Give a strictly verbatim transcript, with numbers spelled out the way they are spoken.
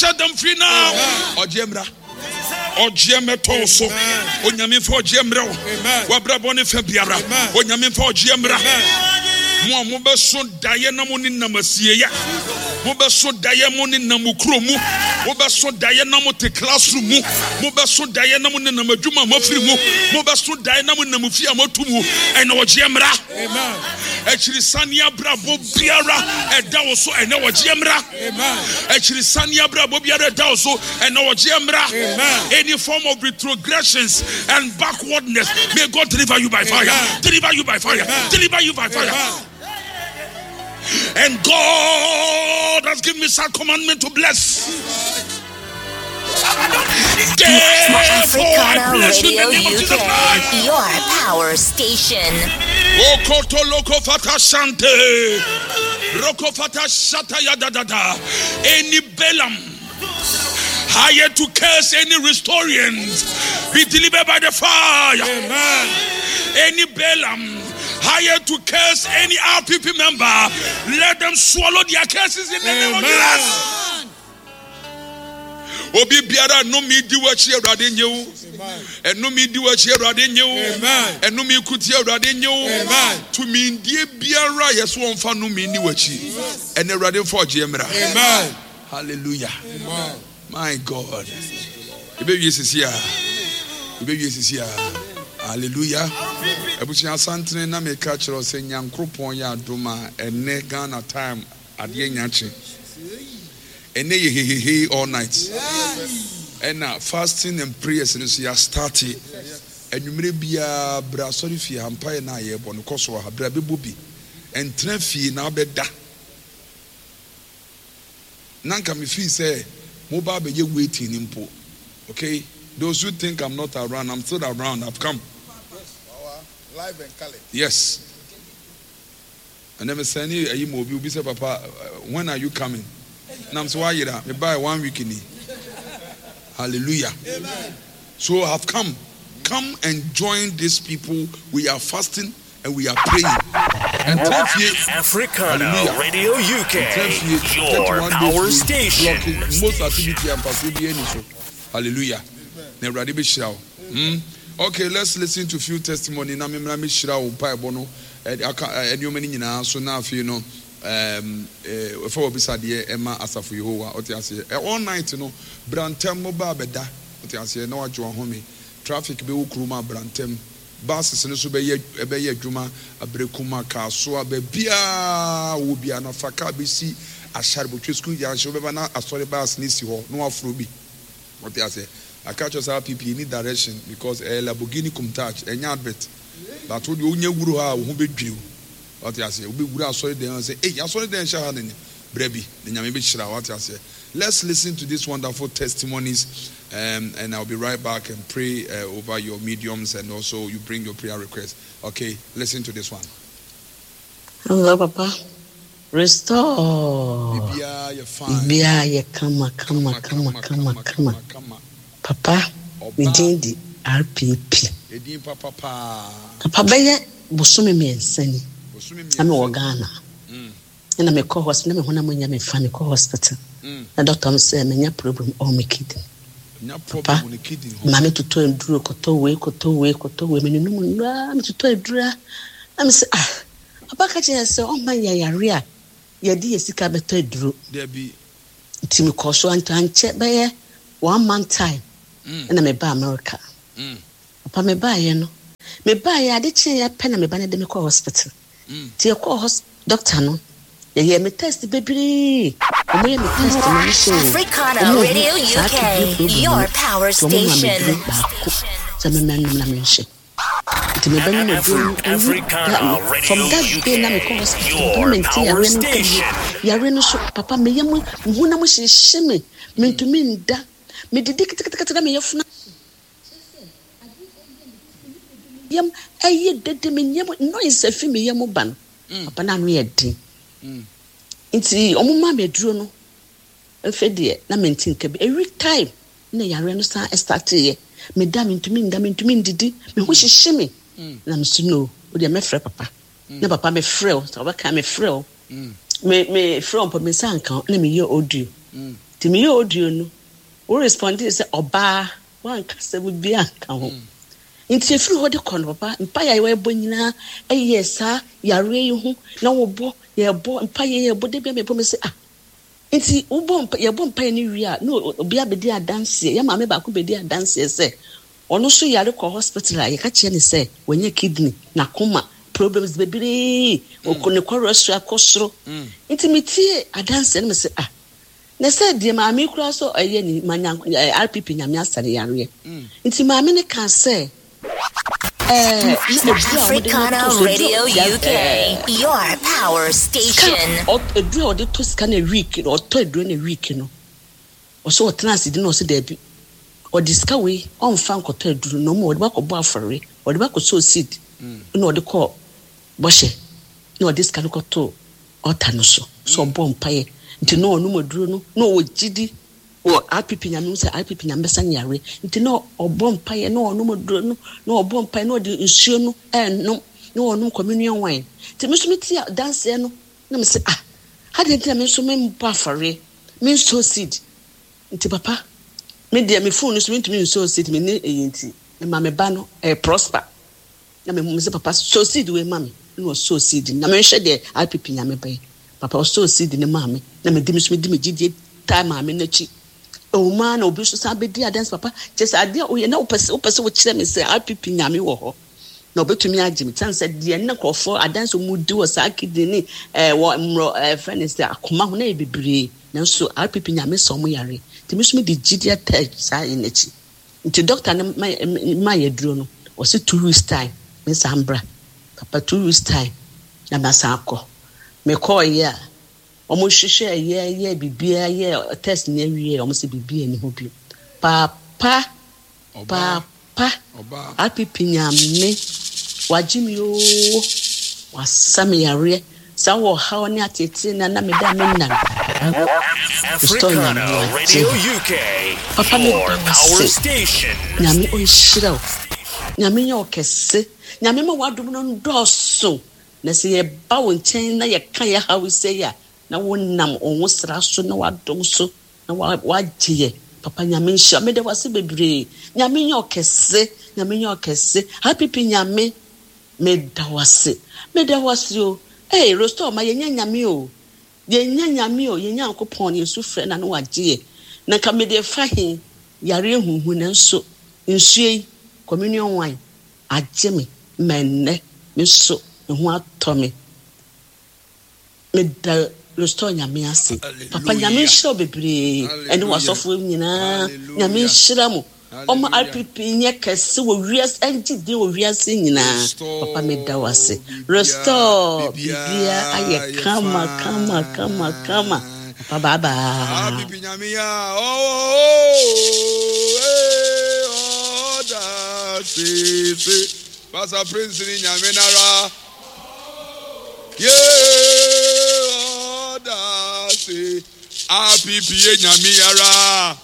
set them free now. Ɔgyeɛ mmra. Ɔgyeɛ mmɛtɔ wo so. Onyame mfa ɔgyeɛ mmerɛ wo. W'abrabɔ ne fa biara. Onyame mfa ɔgyeɛ mmra. Mo a mobɛso daeɛ na mo ne nam asieeɛ. Mobɛso daeɛ mo ne nam mo kuro mu. Mobɛso daeɛ na mo te classroom mu. Mobɛso daeɛ na mo ne nam adwuma a moafiri mu. Mobɛso daeɛ na mo nam fie a moatu mu. Ɛnna ɔgyeɛ mmra. Akyirisane abrabɔ biara ɛda wo so ɛnɛ ɔgyeɛ mmra. Akyirisane abrabɔ biara ɛda wo so ɛnɛ ɔgyeɛ mmra. Any form of retrogressions and backwardness, may God deliver you by fire. Deliver you by fire. Deliver you by fire. And God has given me such commandment to bless. Therefore, I Africana bless you in Radio the name of Jesus U K, Christ. your power station. Okoto loko fata shante. Roko fata shata ya da da da. Any Balaam hired to curse any restorians, be delivered by the fire. Amen. Any Balaam hired to curse any R P P member, let them swallow their curses in the name of Amen. Jesus. Obi biara no mi di wachi Awurade nye wo. Amen. Ɛno mi di wachi Awurade nye wo. Amen. Ɛno mi kuti Awurade nye wo. Amen. Tumi ndie biara yɛ so wɔmfa no mi ni wachi. Ɛnɛ Awurade mfa ɔgyeɛ mmra. Amen. Hallelujah. Amen. My God. Ebe wie sisi a. Ebe wie sisi a. Hallelujah. Abusua asantene na meka kyerɛ wo sɛ Nyankopɔn yɛ adom a ɛnɛ Ghana time adeɛ nya kye. Ɛnɛ yɛ hehehe all night. Ɛna fasting and prayers no so yɛ start. Anwummerɛ biara bra asɔre fie ha, mpaeɛ na yɛbɔ no kɔ so ha, bra bɛbɔ bi. Ɛntena fie na wobɛda. Na nka me feel sɛ mo ba bɛyɛ waiting ni mpo. Okay? Those who think I'm not around, I'm still around. I've come. Live and colored. Yes. And then me send you a mo bi say, Papa, when are you coming? And I'm so why you me buy one week in. Hallelujah. Amen. So I've come. Come and join these people. We are fasting and we are praying. And Africana Hallelujah. Radio U K, And your thirty-one power days station. blocking most activity and pursuit so. Hallelujah. Now, ready be shout. Hmm? Okay, let's listen to few testimony. Na me mra me shira wo pa ebo no. Eh, aka, eh, enioma ni nyina so na afei no, um, eh, fa obi sa de ema asafo Yehowa. Ote ase. Eh, all night no, brantem mo ba beda. Ote ase na wadwo ahome. Traffic be wo kruma brantem. Buses no so be ye, be ye adwuma abrekuma ka so aba bia wo bia na fa ka be si ahare botwe school ya hye wo beba na asori bus ni si ho na wafro bi. Ote ase. I catch us R P P in direction because eh, Lamborghini Countach enya advert. But wo de onye wuru ha wo ho bedwiri. Ote ase. Wo be wuru asori den say, "Hey, asori den hye ha ne ni." Brebi, ne nyame be hyira wo. Ote ase. Let's listen to these wonderful testimonies, um, and I'll be right back and pray, uh, over your mediums, and also you bring your prayer request. Okay, listen to this one. Hello, Papa. Restore. Bibia, you're fine. Bibia, you kama, kama, kama, kama, kama. Kama. Papa, Oba. we did the R P P. Edin papa pa. Papa, beye bosome miensa ni. Bosome Na me miensa. wɔ Ghana. Mm. Na me kɔ hospital, na me ho na mo nya me fa me kɔ hospital. Mm. Na doctor me say me nya problem on me kidney. Nya Papa, problem on the kidney. Ma me tutu enduro koto we koto we koto we me nunu mu na me tutu enduro. Na me say ah, papa ka che say o ma ya yare a ye di sika beto enduro. There be Nti me kɔ so anto anche be ye one month time. Mm. Na me ba America. Mm. Papa me ba ye no. Me ba ye ade che ye pe na me ba na de me kɔ hospital. Mm. Ti e kɔ hos-, doctor no. Ye ye me test bebree. Omo ye me test no me so. Africana Omo Radio hu U K, saa kidney problem your no. power Ti omo ma me station. duro baako. Sɛ me mɛnum na me nhyɛ. Nti me bɛ no me duro no, ewu Africana da me. Radio From that day na me kɔ U K, hospital, your papa me nti power yare no nka station. bi. Yare no so, papa me yam, me hu na mo hyehyɛ me. Me ntumi nda. Me didi ketekete na me yɛ funa. Yam, ɛyɛ dede, me nyam, noise afi me yam ba no. Mm. Papa na ano yɛ den. Mm. Nti ɔmo ma me aduro no. Mfe deɛ, na me nti nka bi. Every time na yare no san start yɛ. Me da, me ntumi nda, me ntumi ndidi. Me ho hyehye me. Mm. Na me so no, wo deɛ mɛfrɛ papa. Mm. Na papa me frɛ wo, sɛ wobɛka me frɛ wo. Mm. Me, me frɛ wo mpo, me nsa nka wo, na me yɛ audio. Mm. Nti meyɛ audio no, wo respondee sɛ ɔbaa, woanka asɛm bi anka ho. Nti ɛfiri hɔ de kɔ no papa, mpaeɛ a yɛbɔ nyinaa ɛyɛ saa yareɛ yi ho na wobɔ, yɛbɔ mpaeɛ, yɛbɔ da bi a mebɔ me sɛ ah. Nti wobɔ mpa, yɛbɔ mpaeɛ no wie a, na obi abɛdi adanseɛ, yɛ maame baako bɛdi adanseɛ sɛ ɔno nso yare kɔ hospital a yɛka kyerɛ ne sɛ wanya kidney, n'akoma problems bebree, ɔkɔ ne cholesterol akɔ soro. Nti metie adanseɛ no me sɛ ah, na sɛ deɛ maame koraa so ɛyɛ ni ma nya R P P Nyame asa ne yareɛ. Nti maame ne ka sɛ eh, Africana Radio U K, your power station. Eduru a ɔde to sika na week, ɔtɔ eduru na week no. Ɔsɛ ɔtena ase di na ɔsɛ daabi. Ɔde sika wei ɔmfa nkɔtɔ eduru na ɔmo ɔde bakɔbɔ afɔre, ɔde bakɔsɔ seed. Na ɔde kɔ bɔhyɛ. Na ɔde sika no kɔto ɔta no so. So ɔbɔ mpaeɛ. Nti na ɔnom aduro no, na ɔwɔ gyidi wɔ R P P Nyame sɛ R P P Nyame bɛsa nyare. Nti na ɔbɔ mpaeɛ, na ɔnom aduro no, na ɔbɔ mpaeɛ, na ɔde nsuo no ɛnom, na ɔnom communion wine. Nti me nso metie adanseɛ no, na me sɛ ah, adɛn nti na me nso membɔ afɔre, mensow seed. Nti papa, me deɛ me phone no so mentumi nsow seed, me ne ɛyɛ nti, ma me ba no, ɛyɛ prosper. Na me sɛ papa, sow seed wei ma me, na ɔsow seed. Na menhwɛ deɛ R P P Nyame bɛyɛ. Papa ɔsow seed ne ma me, na me di me so me di me gyidie taa maame n'akyi. Ewuma na obi nso san bɛdi adanse papa. Kyerɛ sɛ adeɛ a woyɛ na wopɛ sɛ, wopɛ sɛ wokyerɛ me sɛ R P P Nyame wɔ hɔ. Na obetumi agye me. Kyɛn sɛ deɛ ne nkurɔfoɔ adanse mu di wɔ saa kidney ne, eh, wɔ mmorɔ, eh, fɛ ne sɛ akoma ho na yɛ bebree. Nanso R P P Nyame sɛ ɔmo yare. Nti me nso me de gyidie taa saa yɛ n'akyi. Nti doctor ne ma, ma yɛ duro no, ɔse two weeks time, me nsa mbra. Papa two weeks time, na ma san akɔ. Me kɔɔ yɛ a, ɔmo hwehwɛ yɛ, yɛ biribiara, yɛ test ne awie, ɔmo sɛ biribiara nni hɔ bio. Papa, papa, R P P Nyame, wagye me oo, wasa me yareɛ. Saa wɔ haw ne atete na na meda me nna no. Africana Radio U K, Papa me your da power ase. station. Nyame ɔnhyira wo. Nyame nyɛ wo kɛse. Nyame ma w'adom no ndɔɔso. Na sɛ yɛba wo nkyɛn na yɛka yɛ haw sɛ a, na wonam wo ho sra so na w'adom so na wagye yɛ. Papa Nyame nhyira. Meda wo ase bebree. Nyame nyɛ wo kɛse. Nyame nyɛ wo kɛse. R P P Nyame, meda wo ase. Meda wo ase o. Hey, restore ma yɛnyɛ Nyame o. Yɛnyɛ Nyame o. Yɛnyɛ Nyankopɔn, Yesu frɛ na no wagye yɛ. Na nka mede fa he, yare huhu nanso nsuo yi, communion wine, agye me, ma nnɛ, me nso, me ho atɔ me. Meda restore Nyame ase. Papa Nyame nhyira wo bebree. Ɛne w'asɔfoɔ nyinaa. Nyame nhyira mo. Ɔma R P P nyɛ kɛse wɔ wiase, ɛngye din wɔ wiase nyinaa. Papa meda wo ase. Restore biribiara ayɛ kama, kama, kama, kama. Papa bye bye. R P P Nyame ya. Oh, oh, oh, oh, da, si, si. Pastor Prince ni Nyame nara. Yeah, oh, da, si. R P P Nyame yara.